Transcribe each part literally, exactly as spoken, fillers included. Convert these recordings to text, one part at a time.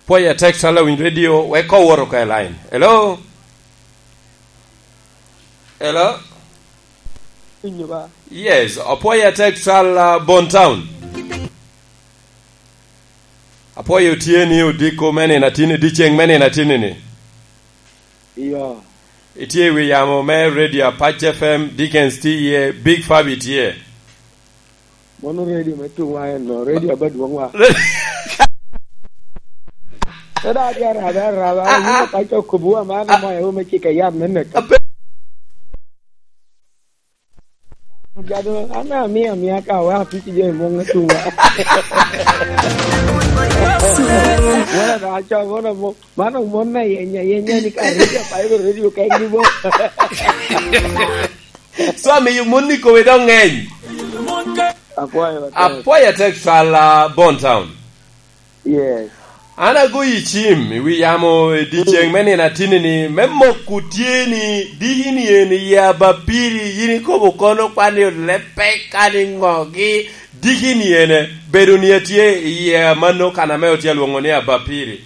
Pwoya text ala winy radio, wek ko woro ka i line. Hello? Hello? Winyo ba? Yes, apwoya text ala Bon Town. Apwoyo tye ni odiko me nino atin, dyeceŋ me nino atin ni. Iyo. Itye i wi yamo me Radio Apac F M, Dickens tye iye, Big Fabi tye. Mono radio me tuŋwa en no, radio aba dwoŋwa. Te da adi arabe, arabe, ah, ah, ka co kubuwa man, ah, amoya wo me cika yat me neka. Ape- Gado, an amia, amia ka wa apic jo i muŋ atuŋa. Wala da aco, mono mo-, mano mon na yenya, yenya ni ka radio, pa ibe radio ka en bo. So, amiyo mon ni kome dok ŋeny. Akwayo, akwayo. Apwoyo atek cwal, ah, Bon Town. Yes. An agoyi cim i wi yamo i dyeceŋ me nino atinni ni, me moko tye ni, diki ni en i abapiri, yin ikobo kono kwan ni olepe kadi ŋogi, diki ni en, bedo ni atye i yie mano kan ame otye alwoŋo ni abapiri.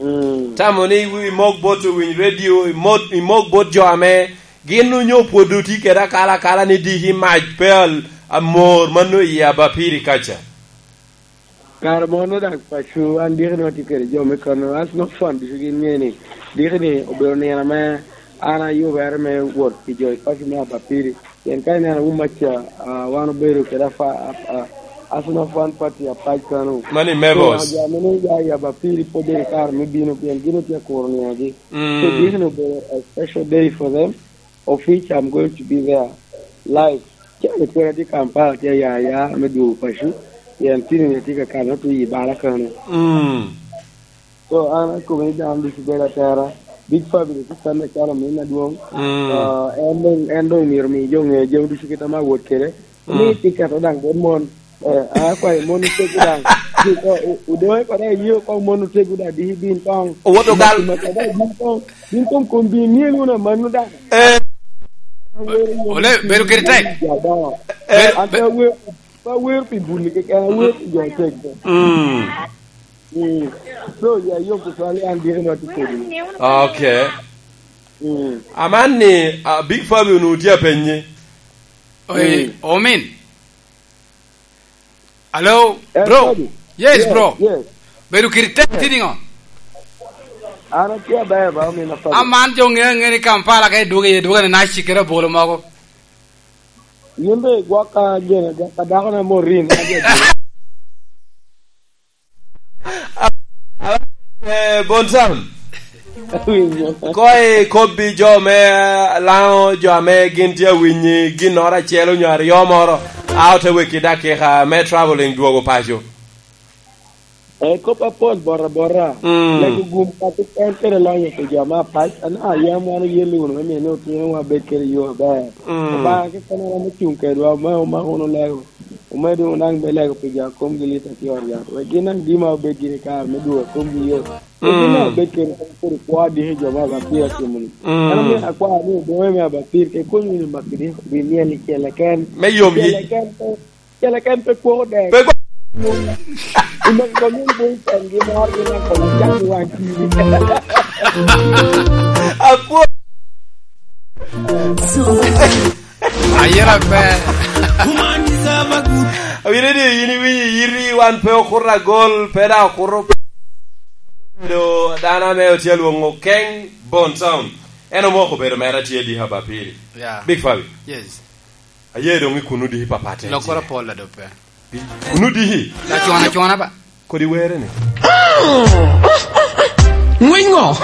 Mm. Tamo ni imok bot owiny radio, imok, imok bot jo ame gin onyo pwod otye kede akala akala ni diki mac pe al-, amor mano i abapiri kaca. Kare mono dak paco, an diki ni watye kede jo me kono, an not fun ducu gin ŋe ni, diki ni obedo nino ame an ayubere me wot pi jo i paco me abapiri. Pien ka ineno awuma ca, ah, wan obedo kede afa-, a, a, Arsenal fan party apac kano. Mani Mevos. So, jo ame nwoŋo ya i abapiri pwod bedo kare me bino, pien gin otye akuro ninogi. Mm. So, this obedo a special day for them, of which I'm going to be there live. Calo pwod atye Kampala, tye aya aya me dwogo paco, pien tini ni atye ka kano, atye i bala kano. Mm. So, an akobbe ni dano ducu bedo atera. Big Family tye kanne acalo ominna adwoŋ. Mm. Ah, en doŋ, en doŋ myero omi jo ŋe jami ducu kit ame awot kede. Mm. Ni tye keto daŋ bot mon. Eh, an akwayo mon otego daŋ. Ju-, o-, o-, odoŋe kore aye oko mon otego daŋ diki bin koŋ. Owoto gal. Maki maki daŋ bin koŋ. Bin koŋ kom bin myel wunu amanno daŋ. Eh. Ole, bedo kede tek. Ja daŋ. Eh, an pe awero, pe awero pi buni keken, awero pi jo tek. Mm. Mm. So, ya yom tutwal, an diki ma tye kodi. Okay. Mm. Aman ni, ah, Big Fabi onwoŋo tye apenyi. Oi, mm. Omin. Hello, eh, bro. Fabi. Yes, yes, bro. Yes. Bedo kiri tek tye niŋo? An atye aber ba, omin a Fabi. Aman jo ŋe, ŋe ni Kampala ka idwogo iye, dwogo ni naci kede abolo mogo. Yin be igwok ka gene, ka dako na morin. Eh, Bon Town. Awinyo. Ko ikobbi jo me, eh, Laŋo, jo ame gin tye awinyi ginnoro acel onyo aryo moro, a ote weki dakika me traveling dwogo paco. Eh, kop apol bota bota. Mm. Lego gum ka keken kede lonyo pi jo me apac, an ayam wan oyelle wunu me miyo ni otinowa bed kede yo aber. Mm. Obaŋa keken aromo cuŋ kedwa, me omako wunu lego. Omedo wunu daŋ me lego pi jo a komgi lit atye i ot yat, wek gin daŋ dima obed gire kare me dwogo a komgi yot. Wek gin daŋ obed kede kede kwo diki jo me abapir atimo-ni. Mm. An omyero akwa ni odoŋe me abapir, ke kony wunu maki diki pi myel i cel keken. Me yom yi. Cel keken pe, cel keken pe kwoko dek. Pe kwo- Omaki kong myel boy pen gi mor, gin daŋ kong ocak i waŋ tiri. Akwo- Ayela pe. Awinyo ni yin iwinyo iyiti, wan pe okuto agol, pe daŋ okuto. Obedo dano ame otye alwoŋo Keng Bon Town. En omoko obedo mere atye diki abapiri. Yeah. Big Fabi. Yes. Aye doŋ i kuno diki papat. Lokoro pol la dope. Kuno diki? Acwana, acwana ba. Kodi were ni. Ngwiny ŋo?